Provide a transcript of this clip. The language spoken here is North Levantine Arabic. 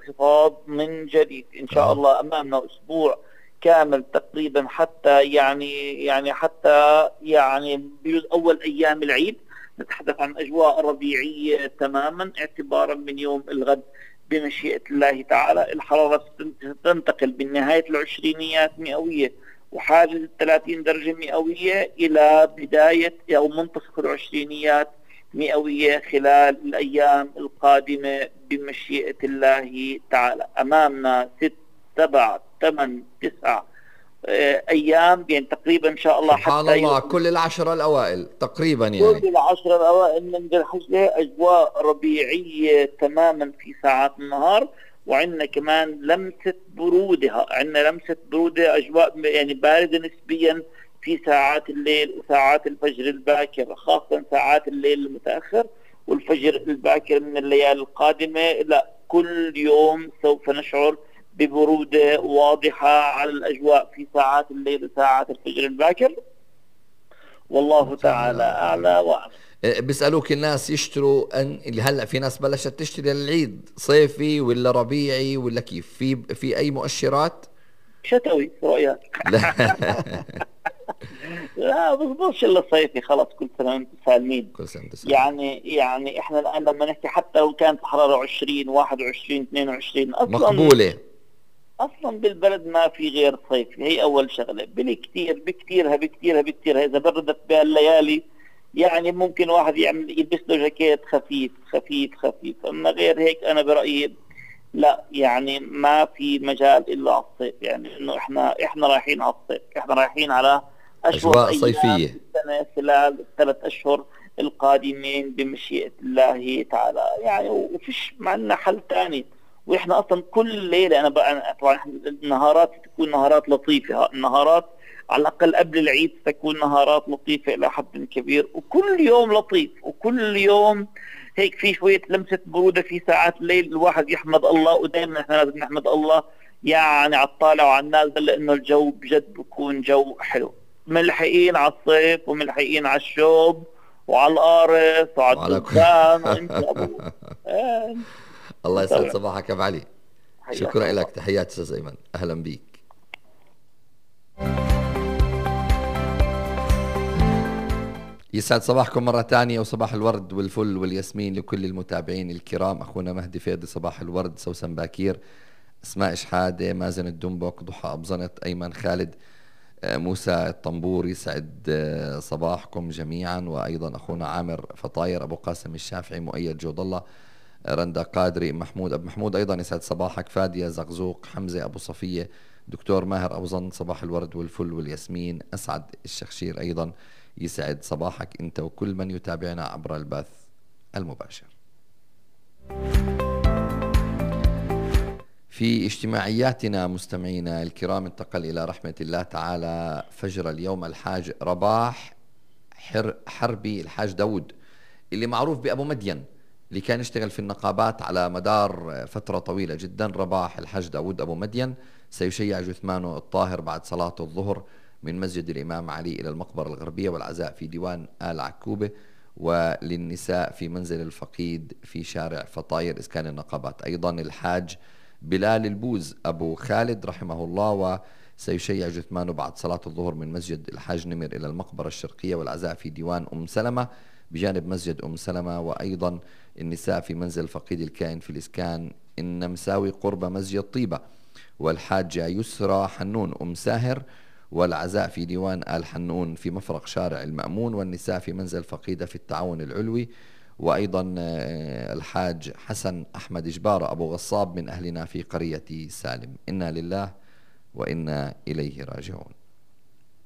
انخفاض من جديد إن شاء الله. أمامنا أسبوع كامل تقريبا حتى بجوز أول أيام العيد نتحدث عن أجواء ربيعية تماما، اعتبارا من يوم الغد بمشيئة الله تعالى. الحرارة تنتقل من نهاية العشرينيات مئوية وحاجز 30 درجة مئوية إلى بداية أو منتصف العشرينيات مئوية خلال الأيام القادمة بمشيئة الله تعالى. أمامنا 6 7 8 9 أيام يعني تقريبا إن شاء الله سبحان الله كل العشرة الأوائل تقريبا يعني كل العشرة الأوائل من ذي الحجة أجواء ربيعية تماما في ساعات النهار، وعندنا كمان لمسة برودة، عندنا لمسة برودة أجواء يعني باردة نسبيا في ساعات الليل وساعات الفجر الباكر، خاصة ساعات الليل المتأخر والفجر الباكر من الليالي القادمة. لا كل يوم سوف نشعر ببرودة واضحة على الأجواء في ساعات الليل وساعات الفجر الباكر، والله تعالى أعلى وأعلم. بيسألوك الناس يشتروا اللي هلأ في ناس بلشت تشتري للعيد صيفي ولا ربيعي ولا كيف؟ في أي مؤشرات؟ شتوي رؤياك. لا بصبرش إلا صيفي، خلاص كل سنة وانتم سالمين. كل سنة سالمين. يعني احنا الآن لما نحكي حتى لو كانت الحرارة 20 21 22 أصلا مقبولة، اصلا بالبلد ما في غير صيف. هي اول شغله. بكتيرها اذا بردت بها الليالي يعني ممكن واحد يلبس له جاكيت خفيف، اما غير هيك انا برايي لا، يعني ما في مجال الا على الصيف. يعني انه احنا رايحين على الصيف، احنا رايحين على أجواء صيفية السنه خلال ال3 أشهر القادمين بمشيئه الله تعالى يعني. وفيش معنا حل ثاني. واحنا اصلا كل ليله طبعا النهارات تكون نهارات لطيفه، النهارات على الاقل قبل العيد تكون نهارات لطيفه الى حد كبير، وكل يوم لطيف، وكل يوم هيك في شويه لمسه بروده في ساعات الليل الواحد يحمد الله. ودائما احنا لازم نحمد الله يعني على الطالع وعلى النازل، لانه الجو بجد بكون جو حلو. ملحقين على الصيف وملحقين على الشوب وعلى القارص وعلى الدخان وانت ابو الله يسعد صباحك ابو علي. شكرا لك، تحياتي استاذ ايمن، اهلا بيك. يسعد صباحكم مرة تانية، وصباح الورد والفل والياسمين لكل المتابعين الكرام. أخونا مهدي فيضي صباح الورد، سوسن باكير، أسماء إشحادة، مازن الدنبك، ضحى أبزنت، أيمن خالد، موسى الطنبور، يسعد صباحكم جميعا. وأيضا أخونا عامر فطاير، أبو قاسم الشافعي، مؤيد جود الله، رندا قادري، محمود أبو محمود أيضا يسعد صباحك، فادية زغزوق، حمزة أبو صفية، دكتور ماهر أبو ظن، صباح الورد والفل والياسمين. أسعد الشخشير أيضا يسعد صباحك أنت وكل من يتابعنا عبر البث المباشر. في اجتماعياتنا مستمعينا الكرام، انتقل إلى رحمة الله تعالى فجر اليوم الحاج رباح حربي، الحاج داود اللي معروف بأبو مدين، اللي كان يشتغل في النقابات على مدار فترة طويلة جدا. رباح الحاج داود أبو مدين سيشيع جثمانه الطاهر بعد صلاة الظهر من مسجد الإمام علي إلى المقبرة الغربية، والعزاء في ديوان آل عكوبة، وللنساء في منزل الفقيد في شارع فطاير إسكان النقابات. أيضا الحاج بلال البوز أبو خالد رحمه الله، وسيشيع جثمانه بعد صلاة الظهر من مسجد الحاج نمر إلى المقبرة الشرقية، والعزاء في ديوان أم سلمة بجانب مسجد أم سلمة. وأيضا النساء في منزل فقيد الكائن في الإسكان النمساوي قرب مسجد طيبة، والحاجة يسرى حنون أم ساهر، والعزاء في ديوان آل حنون في مفرق شارع المأمون، والنساء في منزل فقيدة في التعاون العلوي. وأيضا الحاج حسن أحمد جبارة أبو غصاب من أهلنا في قرية سالم. إنا لله وإنا إليه راجعون.